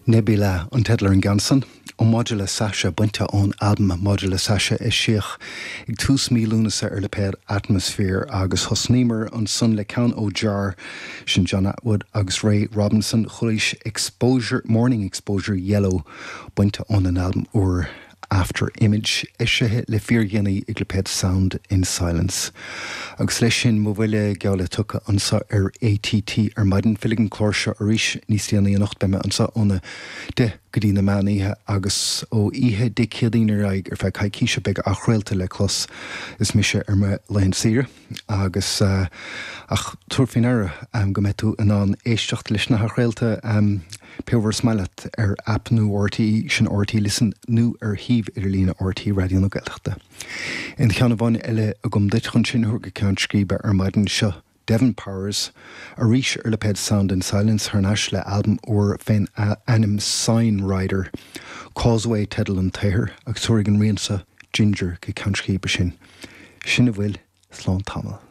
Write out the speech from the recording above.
Nebula an teideal ar an gceann san, ó Maidir le Sasha, bainte ón albam Maidir le Sasha eisíodh ag tús mí Lúnasa ar lipéad Atmosphere agus thosnaíomar ansan le ceann ó Jar, sin John Attwood agus Ray Robinson, chualaís Exposure, Morning Exposure Yellow, bainte óna n-albam úr After Image, eisithe le fíordhéanaí ag lipéad Sound in Silence. Agus leis sin, mo bhuille geall le tugtha anseo ar ATT ar maidin. Fillfidh an clár seo arís níos déanaí anocht, beidh mé anseo óna 10 go dtí na meán oíche agus ó oíche Dé Céadaoin ar aghaidh ar feadh coicíse beidh athchraolta le clos is mise ar mo laethanta saoire. Agus, ach tabhair faoi ndeara go mbeidh tú in ann éisteacht leis na hathchraolta pé uair is maith leat ar aip nua RTÉ, sin RTÉ Listen, nó ar shuíomh idirlíne RTÉ Raidió na Gaeltachta. Aon cheann amháin eile agam duit chun sinn a thabhairt go ceann scríbe ar maidin seo. Devon Powers, arís ar lipéad Sound in Silence, thar n-ais le albam úr fén ainm Sign Rider. Causeway teideal an tsaothair agus tabharfaidh an rian seo Ginger go ceann scríbe sinn. Sin a bhfuil, slán tamall.